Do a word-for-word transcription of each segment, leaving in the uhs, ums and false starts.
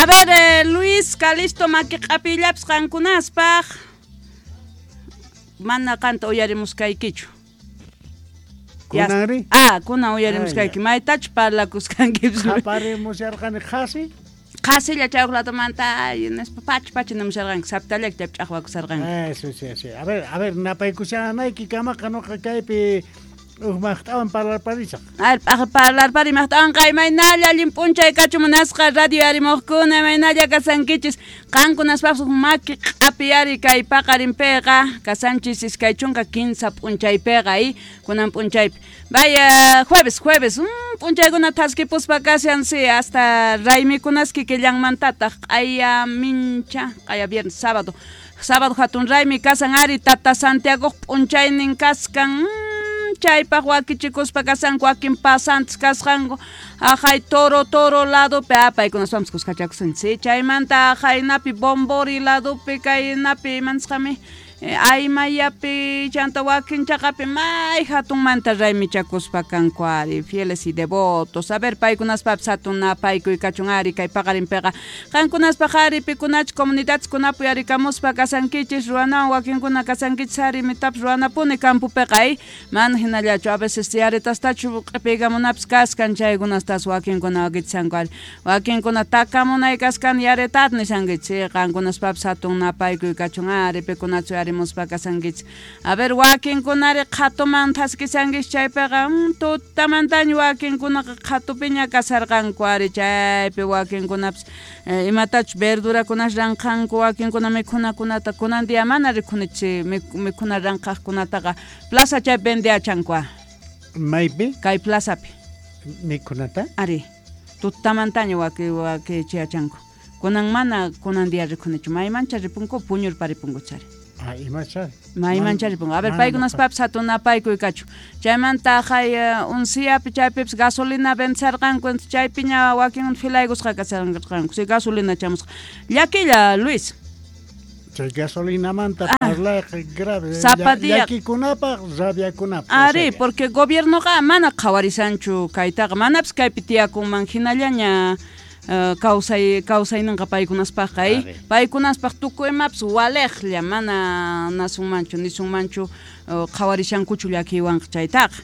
ver, eh, Luis Calisto maki q'apillapas qankunaspaq mana qanta uyarimuskaykichu. Kunanri? Ah, kunan uyarimuskayki. Maytachu parlakuskankipas? Qaparimusharqani qhasi. Qhasilla chay uqlatumanta nispa pacha pacha nimusharqanki, saptallaki chaypi ch'aqwakusharqanki. Eso, sí, sí. A ver, a ver, napaykushanayki kamaqa noqa kaypi uj maqt'awan parlarparisaq. A ver, parlarpari maqt'awanqa imaynalla allin p'unchay kachun munasqa radio yarimuqkuna, imaynalla kasankichis qankunaspaqpas maki q'apiyari kay paqarinpiqa kasanchis iskay chunka kinsa p'unchaypiqa y kunan p'unchaypi. Vaya, jueves, jueves, mm, p'unchaykuna thaskipuspa kashan, sí, hasta raymikunas kikillanmantataq q'aya mincha, q'aya viernes, sábado. Sábado hatun raymi kasan ari Tata Santiago p'unchaynin kaskan. Chaypaq wakichikuspa kasanku wakin pasantes kasqanku ajay toro toro ladopi paykunaspapis kuskachakusan sí chaymanta ajaynapi bombori ladopi kaynapi imanisqami aymayapi chanta wakin chaqapi may hatunmanta raymichakuspa kanku ari fieles y devotos. A ver, paykunaspapis hatun napaykuy kachun ari kay paqarinpiqa qankunaspaq ari pikunachu comunidadkunapi yarikamuspa kasankichis ruwanawan wakinkuna kasankichis ari mitapis ruwanapuni campopiqa y mana hinallachu a veces yaritastachu q'ipiykamunapis kaskan chaykunastas wakinkuna wakichanku ari wakinkuna takamunay kaskan yaretat nishankichis qankunaspapis hatun napaykuy kachun ari pikunachu muspa kasankichis. A ver, wakinkunari qhatuman thaskisankichis chaypiqa tutamantaña wakinkunaqa qhatupiña kasarqanku ari chaypi wakinkunapis eh, imatachus verdurakunas ranqanku wakinkuna mikhunakunata kunan día mana rikhunichis mikhuna ranqaqkunataqa plaza chaypi vendeachanku. Maypi? Kay plazapi. Mikhunata? Ari, tutamantaña waki wakichiyachanku. Kunan mana kunan día rikhunichu maymancha ripunku puñurparipunku chari. Ah, imacha. Maymancha ripunku. A ver, paykunaspapis hatun napaykuy kachu. Chaymanta jay unsiapi chaypipis gasolina vencerqanku, chaypiña wakin filaykusqa kasharqanku. Si gasolina chamusqa. Llakilla, Luis. Chay gasolinamanta parlayqa grave. Sapa día. Llakikunapaq, rabiakunapaq. Ari, porque gobiernoqa mana qhawarisanchu kaytaqa, manapis kaypi tiyakunman hinallaña Uh, kawsay kawsayninqa paykunaspaqqa eh? Paykunaspaq tukuy imapis waliqlla mana nasunmanchu nisunmanchu uh, qhawarishankuchu llakiywanqa chaytaqa.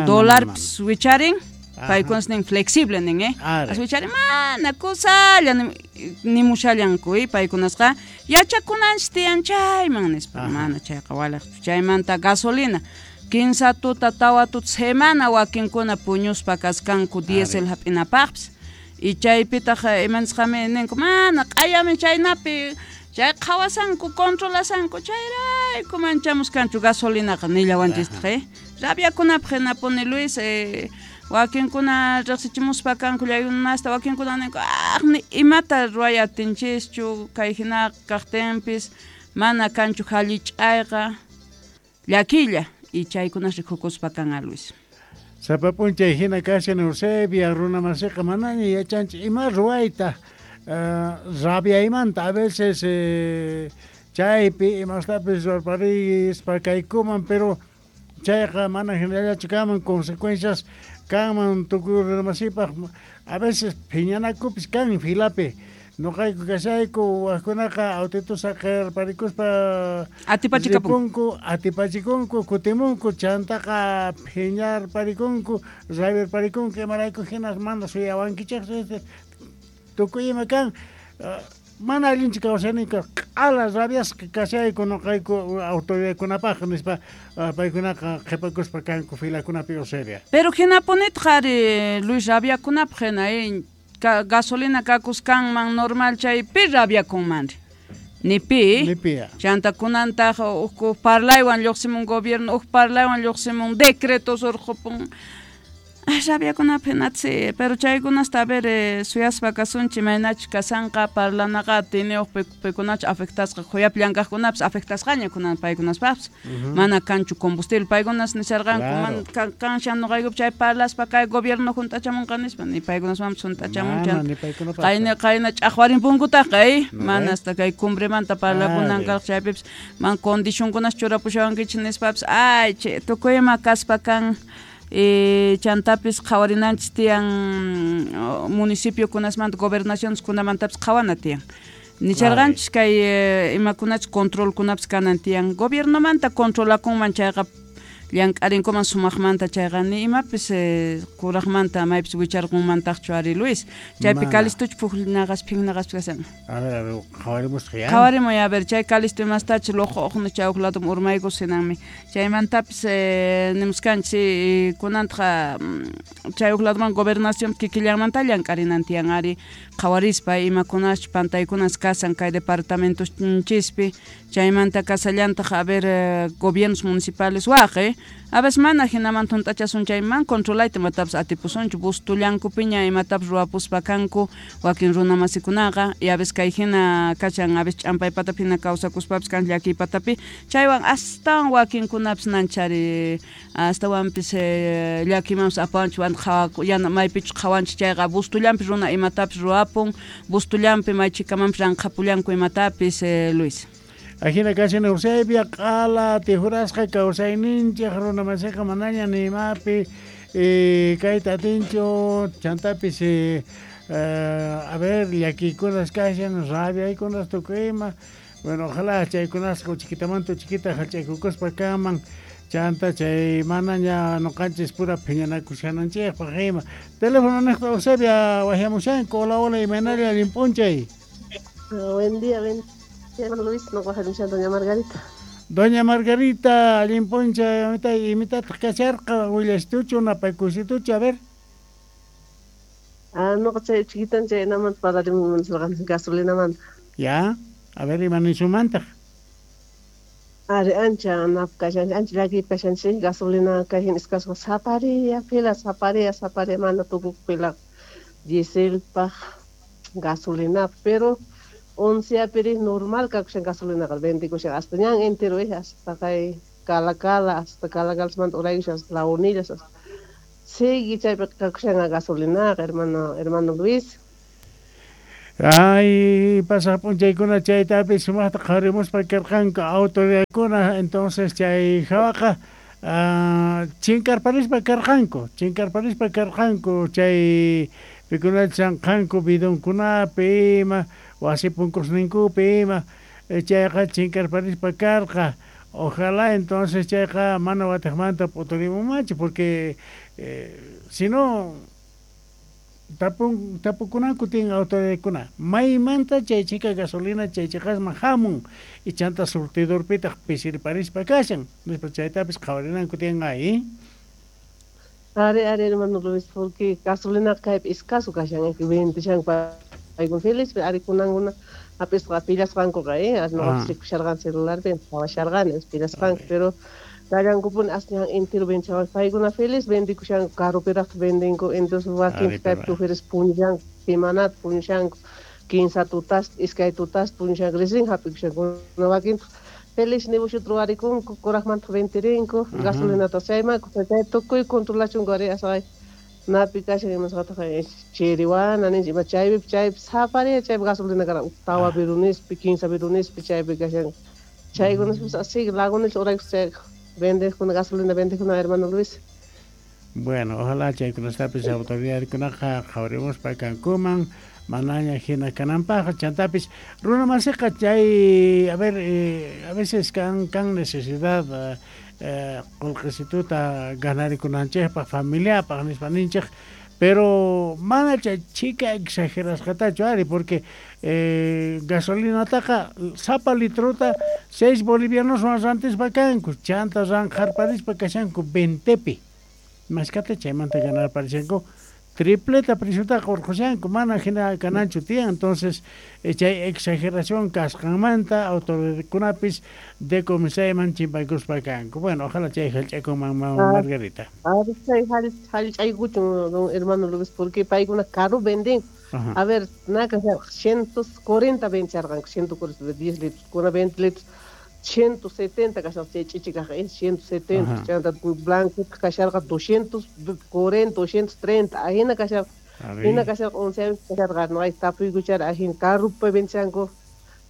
Dólarpis wicharin paykunas nin flexible nin eh? As wicharin mana kusalla nimushallanku eh? Paykunasqa yachakunanchis tiyan chayman nispa mana chayqa waliqchu. Chaymanta gasolina kinsa tuta tawa tuta semana wakinkuna puñuspa kaskanku diésel hap'inapaqpis. Y chaypitaq imanisqami ninku mana q'ayami chaynapi chay qhawasanku controlasanku chayrayku manchamuskanchu gasolinaqa nillawanchistaq eh rabiakunapaq hinapuni Luis eh, wakinkuna riqsichimuspa kanku llayunasta wakinkuna ninku ah ni imata ruway atinchischu kay hina kaqtinpis mana kanchu hallich'ayqa llakilla y chaykunas rikukuspa kan Luis. Sapa p'unchay hina kashan Eusebia runamasiqa manaña yachanchik ima ruwayta uh, rabiaymanta a veces eh, chaypi imastapis ruwarparispa kaykuman pero chayqa mana hinallachu kanman consecuencias kanman tukuy runamasipaq a veces phiñanakupis kan filapi. Noqayku kashayku wajkunaqa autito saqerparikuspa atipachikapunku atipachikunku kutimunku chantaqa phiñarparikunku rabiarparikunku imarayku hinas mana suyawankichik tukuy ima kan uh, mana allinchu kawsayninka q'ala rabiasqa kashayku noqayku autoridadkunapaq nispa uh, paykunaqa qhipakuspa kanku filakunapi Eusebia. Pero hinapunitaq ari Luis rabiakunapaq hina eh? Gasolina kakuskanman normal chaypi rabiakunmanri ni pi ni pi chanta kunantaq uj parlaywan lluqsimun gobierno uj parlaywan lluqsimun decretos urqupun rabiakunapaq hinatsi pero chaykunasta a ver eh, suyaspa kasunchik imaynachu kasanqa parlanaqa tiniyuq paykunachu afectasqa quyapi llank'aqkunapis afectasqaña kunan paykunaspaqpis mana kanchu combustible paykunas nisharqanku mana kanshan noqaykupi chay parlaspa kay gobierno hunt'achamunqa nispa ni paykunasmanpis hunt'achamun qayna qayna ch'aqwarinpunkutaqqa eh mana hasta kay cumbremanta parlakunan kaq chaypipis man condicionkunas churapushawankichik nispapis ay che tukuy ima kaspa kan Eh, chantapis qhawarinanchis tiyan municipiokunasmanta gobernacioneskunamantapis qhawana tiyan. Nicharqanchis kay eh, imakunachus controlkunapis kanan tiyan. Gobiernomanta controlakunman chayqa llank'arinkuman sumaqmanta chayqa ni imapis eh, kuraqmanta maypis wicharqunmantaqchu ari Luis. Chaypi Calistuch pujnaqas phinnaqas kasan. A ver, a ver, qhawarimusqa ya. Qhawarimuy a ver, chay Calisto imastachu luqu uqnu chay huk ladum urmaykus hinanmi. Chaymantapis eh, nimuskanchis eh, kunantqa chay huk laduman gobernación kikillanmanta llank'arinan tiyan ari qhawarispa imakunachus pantaykunas kasan kay departamentonchispi. Chaymanta kasallantaq a ver eh, gobiernos municipales waqi a veces mana hinamanta hunt'achasun chayman controlayta imatapis atipusunchu bustullankupiña imatapis ruwapuspa kanku wakin runa masikunaqa y a veces kay hina kachan a veces ch'ampay patapi hina kawsakuspapis kan llakiy patapi chaywan astawan wakinkunapis nanchari astawanpis eh, llakimanpis apawanchik wanta qhawaku yana maypichus qhawanchik chayqa bustullanpi runa imatapis ruwapun bustullanpi maychikamanpis ranqhapullanku imatapis eh, Luis. Ajina kashan Eusebia q'ala tijurasqa kawsayninchik runa masiqa manaña ni imapi eh, kayta atinchu chantapis eh, eh, a ver llakiykunas kashan rabiaykunas tukuy ima bueno ojalá chaykunasqa chiquitamanta chiquita hach'aykukuspa kanman chanta chay manaña nuqanchis pura phiñanakushananchikpaq ima teléfono niqta Eusebia wahyamushanku hola hola imaynalla allin p'unchay. Buen día, buen día, Luis, no Doña Margarita. Doña Margarita, allin p'unchay, imitataq kasharqa willastuchu napaykusituchu a ver. Ah, no, chay chiquitan chay namanta parlarimun gasolinamanta. Ya, a ver ima nisumantaq. Ari ancha nap kashan, ancha llakiy kashanchik gasolina kashan iskasqa sapariya fila sapariya sapariya mana tukuq fila dieselpaq gasolina, pero once piri normal kakushan gasolina vendikushan hasta ñan entero eh, hasta kay Cala Cala hasta Cala Cala uraykushan hasta Lagunillas hasta sigui chaypi kakushan gasolina hermano hermano Luis. Ay, pasaq p'unchaykuna chaytapis sumaqta qhawarimuspa karqanku autoridadkuna entonces chay hawaqa uh, chinkarparispa karqanku chinkarparispa karqanku chay pikuna chanqanku bidonkunapi ima wasi punkusninkupi ima chayqa chinkarparispa karqa ojalá entonces chayqa mana watiqmanta p'uturimunmanchu porque eh, si no tapun tapukunanku tiyan autoridadkuna maymanta chay chika gasolina chay chiqasman hamun y chanta surtidorpitaq pisirparispa kashan nispa chaytapis qhawarinanku tiyan ay. Ari ari hermano Luis porque gasolina kaypi escaso kashan vendishan paykuna feliz ari kunankuna hap'isqa pillasqankuqa eh noqapis rikusharqani celularpi qhawasharqani pillasqanku pero kallankupuni asñan entero venchawan paykuna feliz vendikushanku carropiraqta vendinku entonces wakin kaypi choferes puñushanku semanata puñushanku kinsa tutasta iskay tutasta puñushanku recién hap'ikushanku wakintaq feliz negociota ruwarikunku kuraqmanta vendirinku gasolinata chayman chay tukuy controlachunku ari asqay napi kashan imasqataq chiriwana ninchik ima chaypi chaypi sapariya chaypi gasolina karqa tawa birunispi kinsa birunispi chaypi kashan chaykunaspis así Lagunilla uraykus chay vendejkuna gasolina vendejkuna hermano Luis. Bueno, ojalá chaykunastapis autoridadkunaqa qhawarimuspa kankuman manaña hina kananpaq chantapis runa masiqa chay a ver eh, a veces kan kan necesidad eh, qullqisituta ganarikunanchikpaq familiapaq nispa ninchik pero mana chay chika exagerasqatachu ari porque eh, gasolinataqa sapa litrota seis bolivianoswan rantispa kanku chanta ranqharparispa kashanku ventepi maskata chaymanta ganarparishanku tripleta preciota urqushanku mana hina kananchu tiyan entonces eh, chay exageración kasqanmanta autoridadkunapis decomisayman chimpaykuspa kanku bueno ojalá chay hallch'aykunman Margarita. Chay hallch'aykuchun don hermano Luis porque paykuna caro venden a ver naka ciento cuarenta vencharqanku ciento cuarenta diez litros kuna veinte litros ciento setenta kasharqa chay ch'ichikaq ciento setenta chanta blanco kasharqa doscientos cuarenta doscientos treinta ajina kasharqa hina kasharqa once kasharqa no hay tapuykuchara ajina carrupi venchanku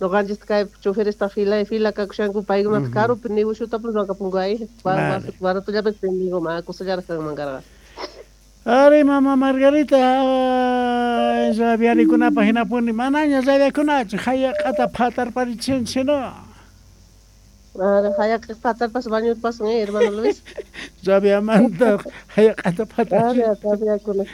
Noqanchis kay choferesta fila fila kakushanku paykunata karupi negociotapis ruwakapunku ay baratollapis vendigo ma kusallaraq kanman karqa. Ari mama Margarita rabiarikunapaq hinapuni manaña rabiakunachu hayaqata phatarparichinchik no. Ari hayaqqa phatarpas bañupas eh hermano Luis. Rabiamanta hayaqata phatar. Ari rabiakuna.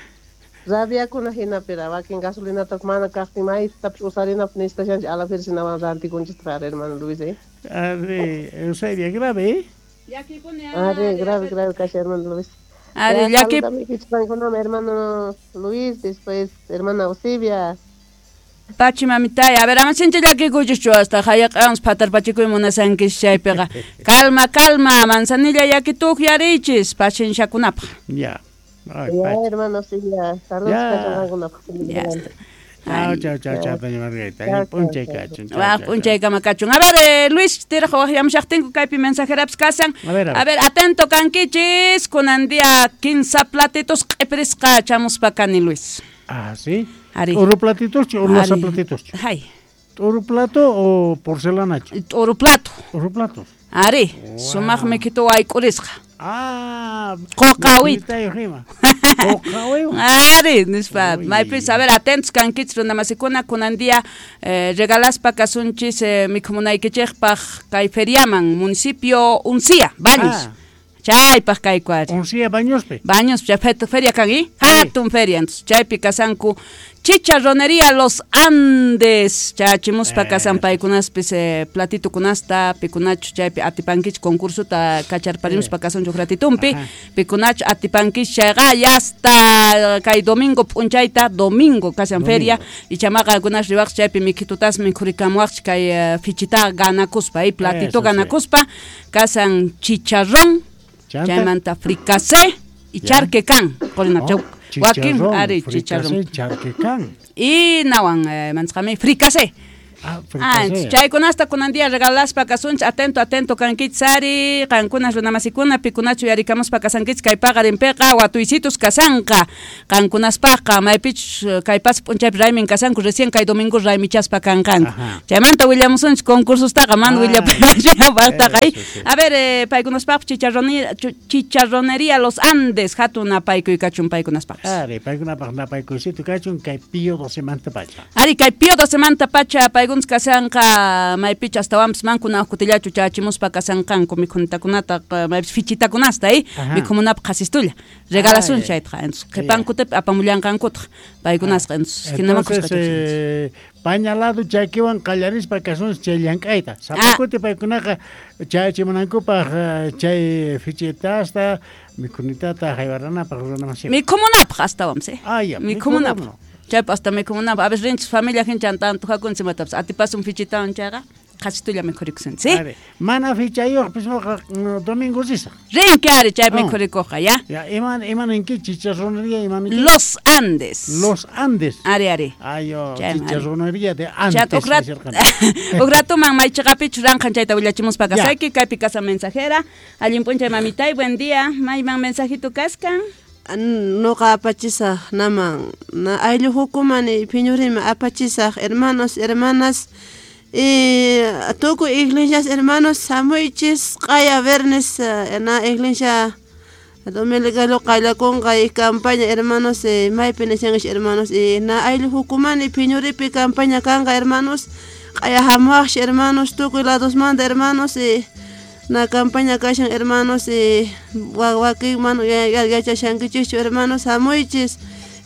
Rabiakuna hinapira wakin gasolinata mana kaqtin maytapis usarinapaq necesitashanchik alafersinawan rantikunchik hermano Luis eh. Ari Eusebia grave eh. Llakipuni ari grave grave kashan hermano Luis. Ari llaki hermano Luis, después hermana Eusebia. Pachi mamitay, a ver, ama sincha llakikuychischu hasta hayaq'awan phatarpachikuy munasankichis chaypiqa. Calma, calma, manzanilla llakituq yarichis pacienciakunapaq. Ya. Ay, ya, hermano Eusebia, saludos kachunqankunapaq. Ya está. Chao, chao, chao, chao, doña Margarita. P'unchay kachun. Waq p'unchaykama kachun. A ver, eh, Luis, tiraq waqyamushaqtinku kaypi mensajerapis kasan. A ver, a ver. A ver, atento kankichis, kunan día quince platitos q'ipirisqa chamuspa kani, Luis. Ah, sí. Ari. Oro platitos o loza platitos. Ay. Oro plato o porcelana? Oro plato. Oro platos. Ari, sumaq mikhito wayk'urisqa. Ah, qoqawita. Ari, nispa, maypis, a ver, atentos kankichis runamasikuna kunan día eh, regalaspa kasunchis eh, mikhumunaykichikpaq kay feriaman municipio Uncía, Baños. Ah. Chaypaq kayku ari. Uncía Bañospi. Baños, chay feria kan, ¿eh? Hatun feria, entonces chaypi kasanku Chicharronería Los Andes, chachimuspa kasan paykunaspis eh, platito kunasta, pikunachu chaypi atipankichik concursuta kacharparimuspa kasanchuk ratitumpi, pikunachu atipankichik chayqa ya hasta kay domingo p'unchayta, domingo kasan feria, ichamaqa kunas riwaq chaypi mikhitutas mikhurikamuwaqchik kay uh, fichita ganakuspa, eh, platito Eso, ganakuspa, kasan chicharrón, chaymanta fricasé y charquecán, qurina Oh, wakin ari chicharrón charquecán y nawan eh, manchqami fricasé. Ah, Ah, chaykunasta kunan día regalaspa kasunchik, atento, atento kankichis ari, qankunas runamasikuna pikunachu yarikamuspa kasankichis kay paqarinpiqa watuysitus kasanqa, qankunaspaqqa maypichus kay pasa p'unchaypi raymin kasanku, recién kay domingo raymichaspa kanqanku. Chaymanta willamusunchik concursostaqa, mana Ah. willapaypaqtaqa. Eso, sí. A ver, eh, paykunaspaq chicharronería, chicharronería Los Andes, hatun napaykuy kachun paykunaspaqpis. Ari, paykunapaq napaykuysitu kachun kay pío docemanta pacha. Ari, kay pío docemanta pacha paykunas kasanqa maypicha astawanpis mankuna kutillachu chachimuspa kasanqanku mikhunitakunata maypis fichitakunasta eh mikhumunapaq qhasistulla regalasun chaytaqa entonces qhipankutipi apamullanqankutaq paykunasqa entonces hinaman Entonces, eh, pañalado chakiwan qallarispa kasunchik chay llank'ayta. Sapa kuti paykunaqa chachimunankupaq chay fichitasta mikhunitata haywaranapaq runamasiwan. Mikhumunapaq astawanpis eh Ah, ya, mikhumunapaq. Chaypa hasta mikhumunapaq a veces rinchis familia hinchan tanto jakunchik imatapas atipasun fichitawan chayqa qhasitulla mikhurikusun, ¿sí? Ari, mana fichayuqpis nuqa domingo risaq. Rinki ari chay Ah. mikhurikuqqa, ya. Ya, ima ima ninki chicharronería ima ninki? Los Andes. Los Andes. Ari, ari. Ayo, Chayman, ari. chicharronería de Chat, Andes. uqrat, nisirqani. uqratuman maychiqapichu ranqan chayta willachimuspa Ya. kasayki, kaypi kasa mensajera. Allin p'unchay mamitay, buen día. Mayman mensajito kaskan. Noqa apachisaq naman na ayllu hukumani phiñurima apachisaq hermanos hermanas y tukuy iglesias hermanos hamuychis q'aya viernes na iglesia dominicano qallakunqa y campaña hermanos eh, maypi nishankish hermanos y na ayllu hukumani phiñuripi campaña kanqa hermanos q'aya hamuwaqshi hermanos tukuy ladosmanta hermanos y na campaña kashan hermanos y wakin mana yachashankichischu hermanos hamuychis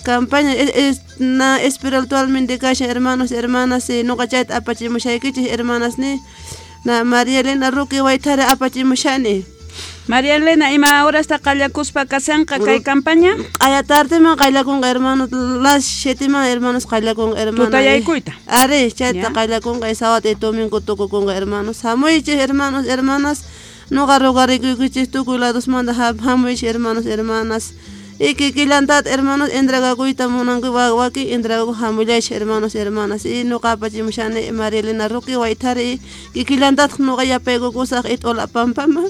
campaña es, es, na espiritualmente kashan hermanos hermanas y nuqa chayta apachimushaykichis hermanas ni na María Elena Roque Waytara apachimushani. María Elena, ima horasta qallakuspa kasanqa kay campaña? Q'aya tardeman qallakunqa hermanos, las sieteman hermanos qallakunqa hermanos. Tutayaykuyta. Ari, chayta qallakunqa y sábado y domingo tukukunqa hermanos. Hamuychis hermanos, hermanas, nuqa rogarikuykichis tukuy ladosmanta hamuychis hermanos, hermanas. Y kikillantat hermanos entregakuyta munanku wakin entregaku hamullaychis hermanos, hermanas. Y nuqa apachimushani María Elena Roque Waytari kikillantataq nuqa yapaykukusaq it'ula pampaman.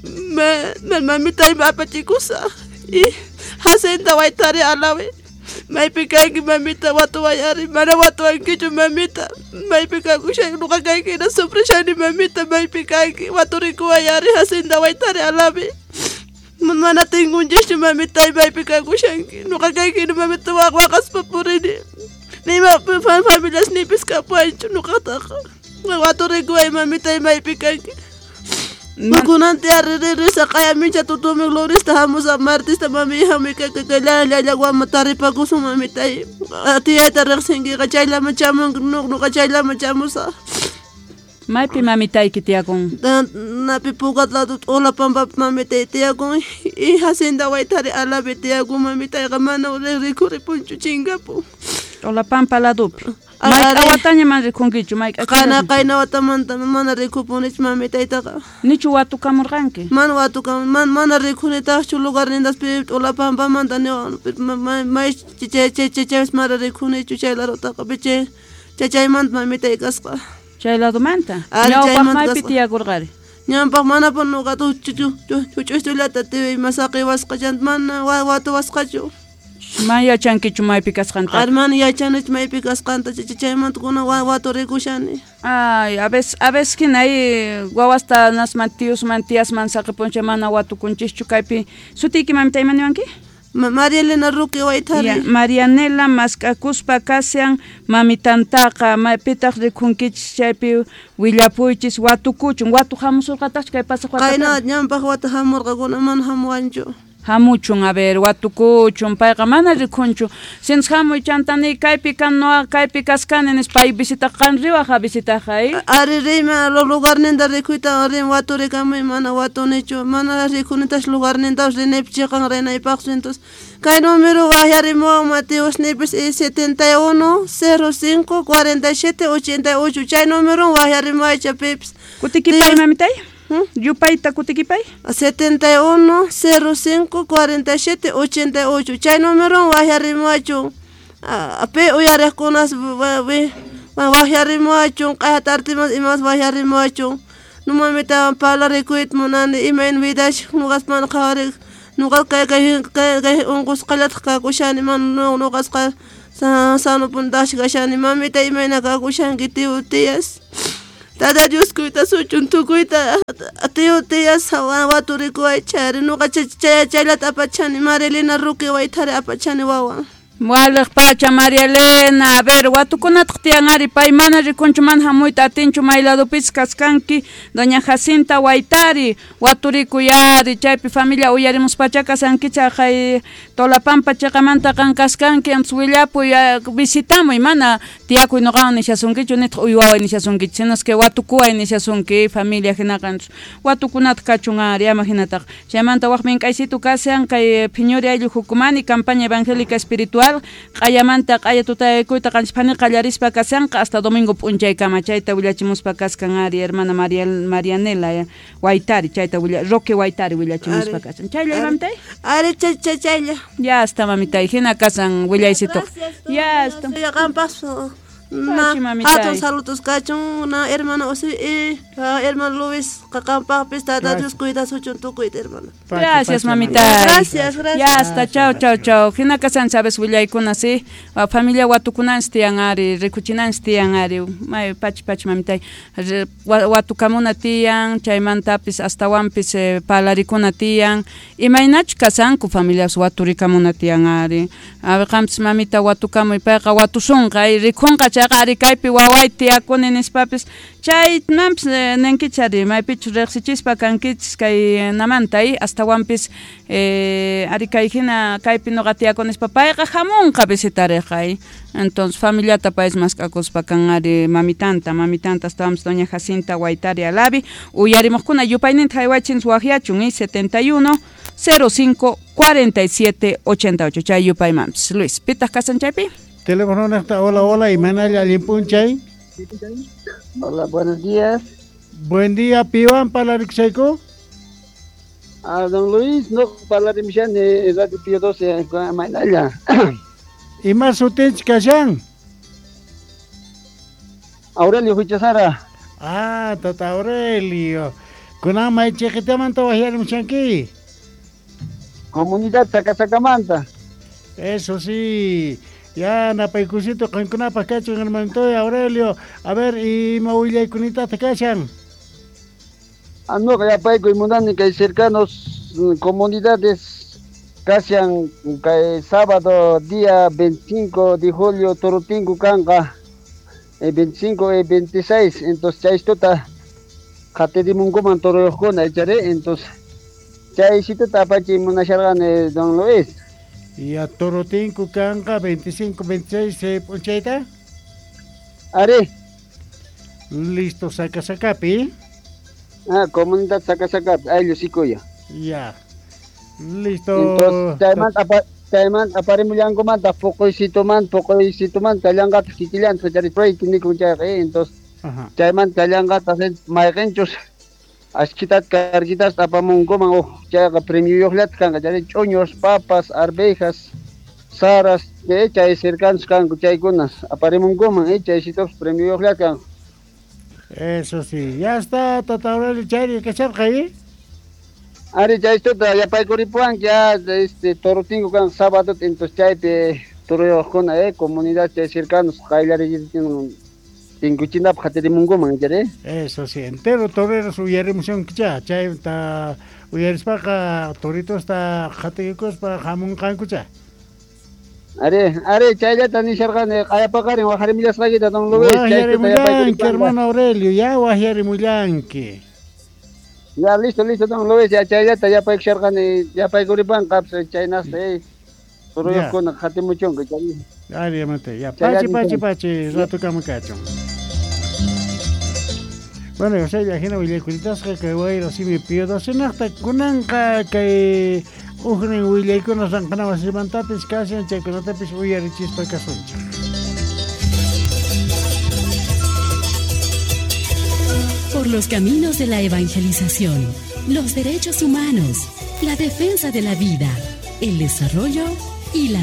Me, me mamitay apachikusaq y Jacinta Waytari alawi Maypi kanki mamita watuwayari mana watuwankichu mamita maypi kakushanki nuqa kayki hina sufrishani mamita maypi kanki waturikuwayari Jacinta Waytari Alavi mana tinkunchischu mamita maypi kakushanki nuqa kayki hina mamita waqaspa purini nima familias nipis kapuwanchu nuqataqa waturikuway mamita maypi kanki Kunanti arririsa qaya tutumi glorista hamusa martista mami hami kaka taripakusun mamitay tiyayta riqsinkiqa chayllaman chamunki nuqa chayllaman chamusaq. Maypi mamitayki tiyakun? Napi Pucat lado T'ulapampapi mamitay tiyakun y Jacinta Waytari Alavi tiyakun mamitayqa mana rikhuripunchu chinkapun. T'ulapampa ladopi. Mayk'a wataña mana rikhunkichu mayk'a Qayna qayna watamanta mana rikhupunichu mamitaytaqa. Nichu watukamurqanki? Mana watukam mana mana rikhunitaqchu lugarnintas pi T'ulapampamanta niwan may chay chay chay mana rikhunichu chay ladotaqa chay chaymanta mamitay kasqa. Chay ladomanta? Ñawpaq maypi tiyakurqari? Ñawpaq manapun nuqa huch'uytullata tiyay masaqiwasqa chanta mana watuwasqachu. Mana yachankichu maypi kasqanta? Ari mana yachanichu maypi kasqanta chaymanta kuna waturikushani. Ay, a veces a veces hina wawasta nasman tiyusman tiyasman saqipunchik mana watukunchischu kaypi. Sutiyki mamita ima niwanki? María Elena Roque Waytari. Marianela mask'akuspa kashan mamitantaqa maypitaq rikhunkichis chaypi willapuychis watukuchun watu hamusurqataqchu kay pasaq watapi? Qayna ñampaq wata hamurqakuna mana hamuwanchu. Hamuchun a ver watukuchun payqa mana rikhunchu sinchis hamuy chantani kaypi kan nuqa kaypi kaskani nispa pay visitaq qan riwaq visitaq ay ari riyman lugarninta rikhuyta rin waturikamuy mana watunichu mana rikhunitash lugarnintapas rinaypi chiqan rinaypaqchu entonces kay número waqyarimuwan Mateusnipis setenta y uno cero cinco cuarenta y siete ochenta y ocho chay número waqyarimuwaycha pipis kutikipay mamitay. Yupayta kutikipay? setenta y uno cero cinco cuarenta y siete ochenta y ocho chay número waqyarimuwachun pi uyariqkunas waqyarimuwachun q'aya tartimas imas waqyarimuwachun numamitawan parlarikuyta munani imayna vidash nuqas mana qhawarik nuqa kay kay kay unqusqallataq kakushani mana nuqasqa sanupuni kashani mamita imayna kakushanki tiyu tiyas Tata Dios kuytasuchun tukuyta tiyu tiyas waturikuway chayri nuqa chayllata apachani María Elena Roque Waytari apachani wawan. Waliq pacha María Elena, a ver, watukunataq tiyan ari pay mana rikunchu mana hamuyta atinchu may ladopis kaskanki doña Jacinta Waytari waturikuy ari chaypi familia uyarimuspacha kasankicha hay Tolapampa chiqamanta qan kaskanki antes willapuy visitamuy mana tiyakuy nuqawan nishasunkichu nitaq uywaway nishasunkichu sino que watukuway nishasunki familia hinaqa antes watukunataq kachun ari ama hinataqa chaymanta waq mink'aysitu kashan kay Phiñuri ayllu hukumani campaña evangélica espiritual q'ayamanta q'aya tutaykuyta qanchispani qallarispa kashanqa hasta domingo p'unchaykama chayta willachimuspa kaskan ari hermana María Marianela Waytari chayta willa Roque Waytari willachimuspa kashan chaylla mamitay ari chay chaylla ya hasta mamitay hina kasan willaysituq ya hasta qanpas na hatun saludos kachun na hermano Osi hermano Luis qanpaqpis Tata Dios cuidasuchun tukuyta hermano. Gracias mamita. Gracias, gracias. Ya hasta chao chao chao. Hina kasan sabes willaykuna si familia watukunanchis tiyan ari rikuchinanchis tiyan ari may pachi pachi mamitay watukamuna tiyan chaymantapis astawanpis parlarikuna tiyan imaynachu kasanku familias waturikamuna tiyan ari a qampis mamita watukamuy payqa watusunqa rikhunqa chayqa ari kaypi waway tiyakuni nispapis chaymanpis ninkichis ari maypichus riqsichispa kankichis kay namanta astawanpis ari kay hina kaypi nuqa tiyakuni nispa payqa hamunqa visitariqa entonces familiata payis mask'akuspa kan ari mamitanta mamitanta astawanpis doña Jacinta Waytari Alavi uyarimuqkuna yupayninta haywachinchis waqyachun setenta y uno cero cinco cuarenta y siete ochenta y ocho chay yupaymanpis Luis pitaq kasan chaypi. Teléfono nesta, hola, hola, y manalla limpunchay. Hola, buenos días. Buen día, Piwan Palarixeco. Ah, don Luis, no parlarimishani Radio Pío doce, Mainalla. ¿Y más sutinch kashan? Aurelio Huichazara. Ah, tata Aurelio. Kunan may chiquitamanta wahiarimshanki. Comunidad Sacasacamanta. Eso sí. Ya napaykusito qankunapaq kachun hermanito Aurelio. A ver, ima willaykunitata kashan. Anoqa yapaykuy munani kay cercanos comunidades kashan kay sábado día veinticinco de julio Torotinku kanqa eh, veinticinco y veintiséis, entonces chaystuta qatirimunkuman toruyuqkuna ichari, entonces chaysituta apachiy munasharqani don Luis. Ya Torotinku kanqa veinticinco, veintiséis eh, p'unchayta. Ari. Listo, saca sacapi. Ah, comunidad saca sacapi, ayllu sikuya. Ya. Listo. Entonces chaymanta apa chaymanta aparimullankumanta puquysitumanta puquysitumanta kallanqataq kikillanta chari proyecto nikun chayqa, eh, entonces chaymanta kallanqataq mayqinchus ashkitat karguitas apamunkuman uj chayqa premioyuqllata kanqa chari ch'uñus, papas, arvejas, saras, eh, chay cercanos kanku chaykunas aparimunkuman, eh, chaysitupis premioyuqllata kanku. Eso sí, ya está tata Aurelio chayri kacharqa, eh. Ari chaystuta yapaykuripuwanki ya este Torotinku kan sábado, entonces chaypi toruyuqkuna eh comunidad chay cercanos qayllariytin tinkuchinapaq qatirimunkuman chari. Eso sí, entero toreros uyarimusunkicha chayta uyarispaqa toritosta qatiykuspa hamunqankucha. Ari, ari chayllata nisharqani q'ayapaqarin waqharimullasqaykita don Luis. Waqyarimullanki hermano Aurelio, ya waqyarimullanki. Ya listo, listo don Luis, ya chayllata yapaykusharqani yapaykuripanqa chaynasta eh toruyuqkuna qatimuchunku chay. Ari mate, ya pachi pachi pachi rato kama kachun. Bueno, o sea, ya hina willaykulitasqa kay wayra simi Pío docenaqta kunanqa kay ujnin willaykuna ranqana wasimantapis kashan chaykunatapis uyarichispa kasunchik. Por los caminos de la evangelización, los derechos humanos, la defensa de la vida, el desarrollo y la